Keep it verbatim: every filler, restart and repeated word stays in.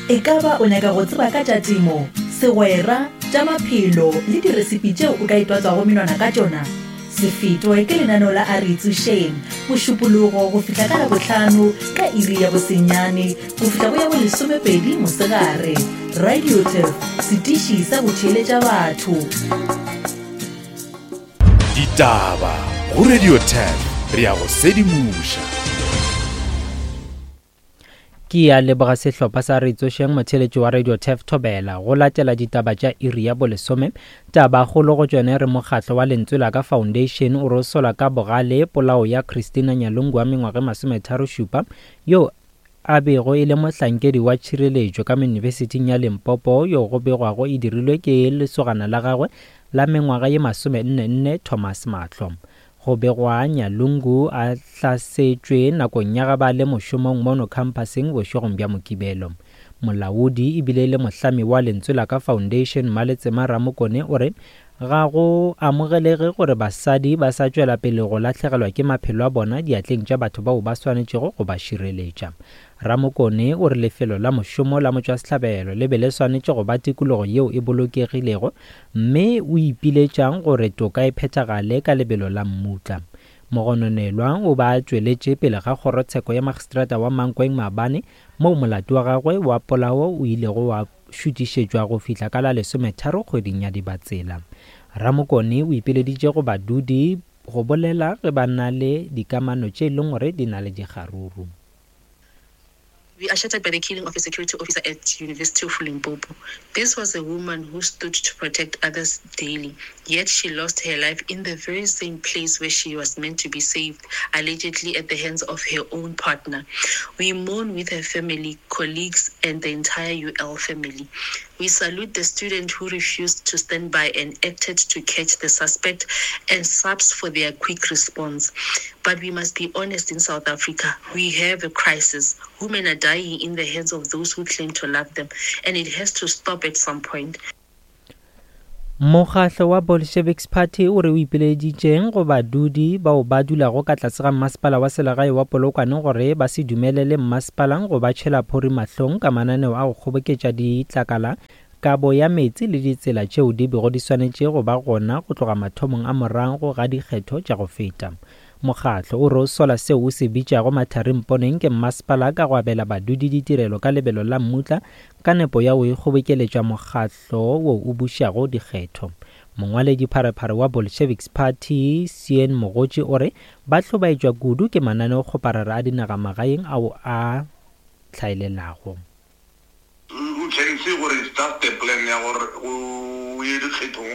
E ka ba o nyaka go tseba ka tša temo, segwera, tša maphelo le diresipi tšeo o ka itwatswago menwana ka tšona? Se fetwe ke lenaneo la A Re Itsošeng, Mošupologo go fihla ka Labohlano ka iri ya bosenyane go fihla go ya bolesomepedi mosegare. Radio Turf, setiši sa go theeletša batho. Ditaba go Radio Turf, re ya go sedimoša. Ke ya leboga sehlopha sa Re Tsošeng motheeletši wa Radio Turf Thobela go latela ditaba tša iri ya bolesome. Tabakgolo go tšone re mokgatlo wa Lentswe la Ka Foundation o rosola ka bogale polao ya Christina Nyalungu wa mengwaga e masometharo šupa yo a bego e le mohlankedi wa tšhireletšo ka Yunibesithing ya Limpopo yo go begwago e dirilwe ke lesogana la gagwe la mengwaga ye masome nne nne Thomas Mahlo. Go begwa Nyalungu a hlasetšwe nakong ya ge ba le mošomong mono khamphaseng bošegong bja Mokibelo. Molaodi ebile le mohlami wa Lentswe la Ka Foundation Maletsema Ramokone o re ga go amogelege gore basadi ba sa tšwela pele go lahlegelwa ke maphelo a bona diatleng tša batho bao ba swanetšego go ba šireletša. Ramokone o re lefelo la mošomo la motšwasehlabelo le be le swanetše go ba tikologo yeo e bolokegilego mme o ipiletšang gore toka e phethagale ka lebelo la mmutla. Mogononelwa o ba tšweletše pele ga kgorotsheko ya magistrata wa Mankweng maabane moo molato wa gagwe wa polao o ilego wa šutišetšwa go fihla ka la lesometharo kgweding ya Dibatsela. Ramokone o ipileditše go badudi go bolela ge ba na le dikamano tše e leng gore di na le dikgaruru. We are shattered by the killing of a security officer at University of Limpopo. This was a woman who stood to protect others daily, yet she lost her life in the very same place where she was meant to be saved, allegedly at the hands of her own partner. We mourn with her family, colleagues, and the entire U L family. We salute the student who refused to stand by and acted to catch the suspect and SAPS for their quick response. But we must be honest: in South Africa, we have a crisis. Women are dying in the hands of those who claim to love them, and it has to stop at some point. Mokgatlo wa Bolsheviks Party o re o ipileditšeng go badudi bao ba dulago ka tlase ga mmasepala wa selegae wa Polokwane gore ba se dumelele mmasepala go ba tšhela phori mahlong ka mananeo a go kgoboketša ditlakala, kabo ya meetse le ditsela tšeo di bego di swanetše go ba gona go tloga mathomong a morago ga dikgetho tša go feta. Mokgatlo o re o sola seo o se bitšago matharimponeng ke mmasepala ka go abela badudi ditirelo ka lebelo la mmutla ka nepo ya go ikgobokeletša mokgatlo wo o bušago dikgetho. Mongwaledi pharephare wa Bolsheviks Party Cien Mogotši o re ba hlobaetšwa kudu ke mananeokgoparara a dinagamagaeng ao a hlaelelago. You can see gore it's just a plan ya gore o ye dikgethong.